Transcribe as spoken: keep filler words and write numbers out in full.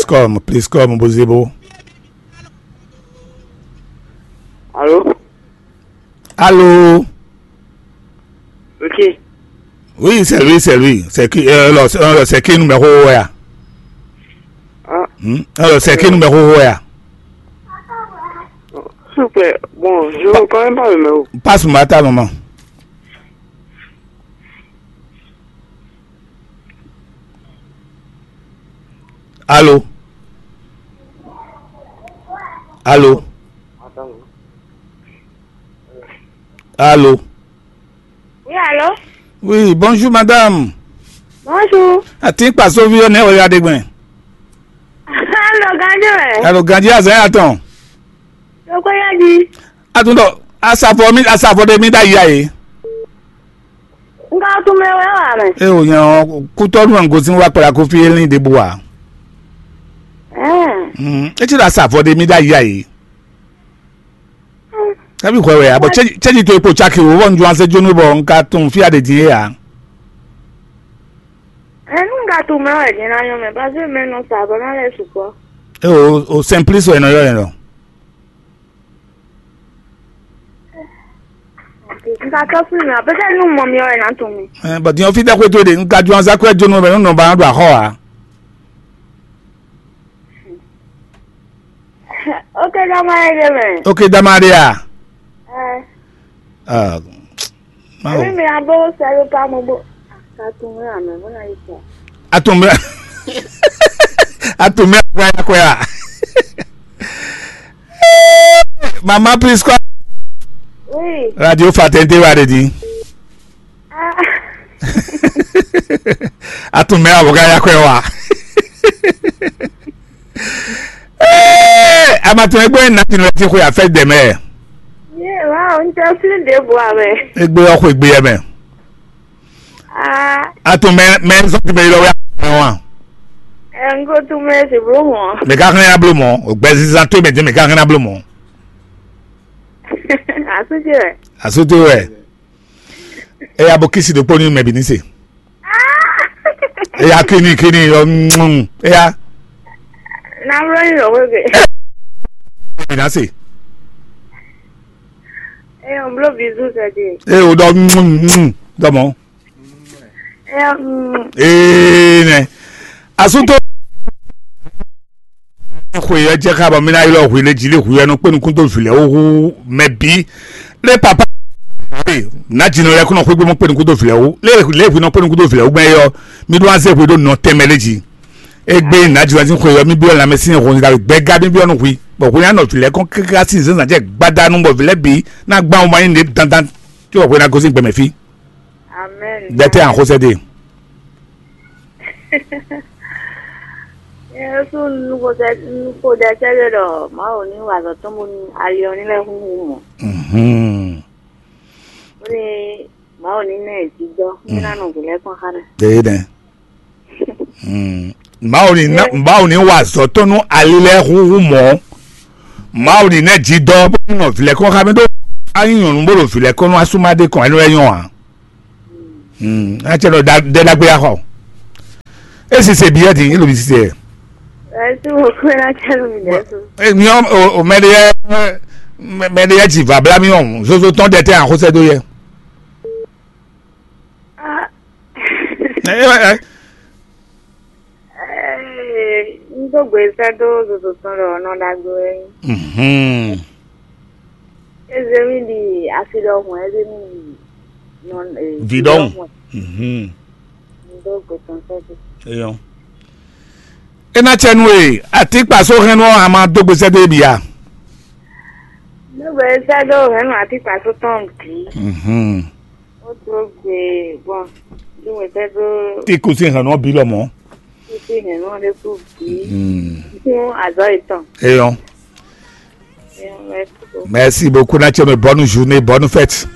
Come, please come, Bozebo. Allô? Allô? Ok. Oui, c'est lui, c'est lui. C'est qui, euh, alors, c'est, alors, c'est qui numéro, ouais? Ah. Hmm? Alors, c'est qui numéro, ouais? S'il vous plaît, bon, je ne connais pas le numéro. Passe-moi ta maman. Allô? Allô? Allô? Oui, allô? Oui, bonjour madame. Bonjour. Atin kpasovi ɔ́ nɛ́ wɛ ya ɖe gbɛn. Alɔ ganjɔ ɛ. Alɔ ganjɔ azan ya tɔn. Tɔkɔ ya di. Atun dɔ asafo mi asafo de mi da ya ye. N ka tunmɛ wɛ wà mɛ. E o nyɛ ɔ kutɔnu an gosin wa kpla ko fi elin de bo wa. Ɛɛ. Mm, e ti da asafo de mi da ya ye. Kabi hwɛ wɛ a bɔ cɛji to epo caki o bɔ n ju ase jonu bɔ n ka tun fi a de din e a. Ɛ nu n ka tunmɛ wɛ din na nyɔ mɛ parce que mɛ nɔ sa bɔ na lɛ sukɔ. E o o simplice wɛ nɔ yɔ yɛn lɔ. N ka tɔ fún mi a peut-être nu mɔ mi wɛ na tun mi. Ɛ bɔ din ɔ fi dɛ xwe to de n ka ju ase akwɛ jonu bɛ nu nɔ ba do axɔ a. Ok, dama ye ɖe mɛ. Ok, dama ɖe a. Ɛ. Ah, Mawu. Ɛmi mi abo sɛlu ka mo bo. Ka tun mi amɛ mo na yi kɔ. Atun mi. Atun mi akɔya akɔya. Mama please call. Oui. Radio Fatente wa de di. Ah. Atun mi abo ka ya kɔya wa. Ee, amatɔn egbe na ti nɔ ti xwe afɛ dɛmɛ. Ye wa o n tɛ fili de bu amɛ. Egbe ɔ xwe gbe yɛ mɛ. Ah. Atun mɛ mɛ sɔ ti mɛ yɔ wɛ wa. Ɛ n ko tun mɛ si blo mɔ. Mɛ ka hɛn ablo mɔ, o gbɛ sisan to mɛ jɛ mɛ ka hɛn ablo mɔ. Asu ti wɛ. Asu ti wɛ. Eya bo kisi ɖokpó ní mɛ bǐ ní se. Eya kíni kíni ɔ mm, eya. Na wlɔ yi lɔ wege. Bǐ ná se. Eye o blo bizu sɛ de. Eye o ɖɔ mm, mm, dɔmɔ. Eye mm. Ee nɛ. Asúntò. Xwe ɔ́ jɛ xá bɔ mí ná ylɔ́ hwi lé jí lé hwi ɔ́ nɔ kpé nukún dó vǐ lɛ́ɛ wú hú mɛ bǐ. Lé papa nǎjínɔ lɛ́ɛ kún nɔ xwé gbé mɔ kpé nukún dó vǐ lɛ́ɛ wú. Lé lé hwi nɔ kpé nukún dó vǐ lɛ́ɛ wú gbɛn é ɔ́, mí ɖó wá zé hwe ɖó nɔ tɛnmɛ lé jí. Égbé nǎjínɔ sín xwe ɔ́, mí byɔ́ lanmɛ sín hɔn da gbɛ́gá mí byɔ́ nú hwi. Bɔ hwe ná nɔ vǐ lɛ́ɛ kɔn káká sín zězǎn jɛ gbada nú bɔ vǐ lɛ́ɛ bǐ ná gbán wá nyí nǔɖé dandan. Có bɔ hwe ná gosín gbɛmɛ fí. Amen. Dɛtɛ an xosɛ de. Yesu nuxodɛ nuxodɛ cɛ́ ɖɔ ɖɔ Mawu ní wa azɔ̌ tɔn bónú ali ɔ́ ní lɛ́ húnhún mɔ̌. Mhm. Bónú Mawu ní ná ɛ jijɔ ní ná nɔ vǐ lɛ́ɛ kpɔ́n xá ná. Ɖe nɛ. Mm. Mawu ní ná- Mawu ní wa azɔ̌ tɔn nú ali lɛ́ɛ húnhún mɔ̌. Mawu ní ná ɛ jidɔ bónú nɔ vǐ lɛ́ɛ kpɔ́n xá mɛ ɖó. Anyi nyɔ̌nu bó ɖo vǐ lɛ́ɛ kpɔ́n nú asúmá ɖé kɔn ɛnú lɛ́ nyɔ́ ǎ. Hmm, acɛ nɔ da ɖɛ ɖagbe axɔ. Esi se bi yɛ di, elo bi se. Ẹtú mo kọ́ ẹ láti ẹnu mi dẹ́sùn. Èmi ò mẹ́rin yẹ mẹ́rin yẹ jì vabla mi ọ̀hún zozo tɔn dẹ tẹ àkóso dó yẹ. Ah. Ẹ ẹ ẹ. Eh, n tó gbé sɛ́ dó zozo tɔn ɖɔ nɔ ɖagbe wɛ. Mhm. Eze mi ɖi asi ɖɔhun, eze mi ɖi nɔ eh, vi ɖɔhun. Mhm. N tó gbé tɔn sɛ́ dó. Eyɔn. Ena cɛ nu e atikpa so hɛn nɔ ama dó gbé sɛ́ dó ebi a. N tó gbé sɛ́ dó hɛn nɔ atikpa so tɔn bǐ. Mhm. Ó dó gbe gbɔn dó wɛ tɛ́ dó. Tí kò sí ìhànú ọ̀bí lọ mọ́. Kò sí ìhànú ọ̀bí kò bí. Fún àzọ́ ìtàn. Eyɔn. Eyɔn, merci beaucoup. Merci beaucoup, Natchez, bonne journée, bonne fête.